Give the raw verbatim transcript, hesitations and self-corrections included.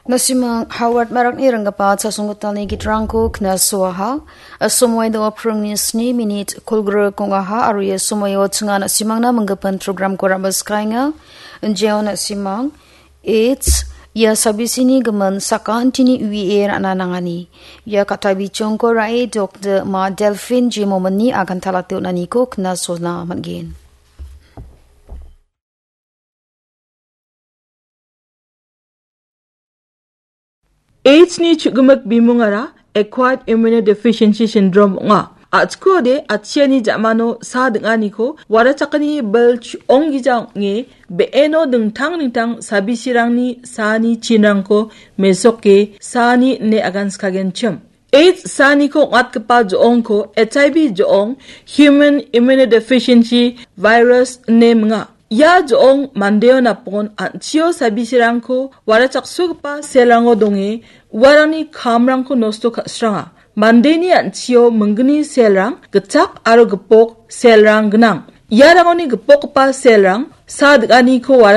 Nasimang Howard Marakni ringgipa chasonggitalni gitrangko knasoaha. Asomoi do pringni sni minit kolgrik ong·aha aro ia somoio chinga nasimangna minggipan programko ra·baskaenga. Jeo nasimang, AIDS, ia sabisini gimin sakantini uie ra·na nangani. Ia katabichongko ra·e Doktor Ma Delphine J Mominni agantalate on·aniko knasona man·gen. AIDS-ni chu·gimik bimungara Acquired Immunodeficiency Syndrome ong·a. A·chikode atchiani ja·mano sa ding·aniko warachakani bil chu-, onggija ong·e be·eno dingtang dingtang sabisirangni saani chinrangko mesoke saani ine aganskagenchim. AIDS saaniko ong·atgipa jo·ongko H I V jo·ong, Human Immunodeficiency Virus ine minga. Ia jo·ong mandeo napon an·chio sabisirangko warachaksogipa selrango donge uarangni kamrangko nosto ka·sranga. Mandeni an·chio minggni selrang gitchak aro gipok selrang gnang. Iarangoni gipokgipa selrang sa ding·aniko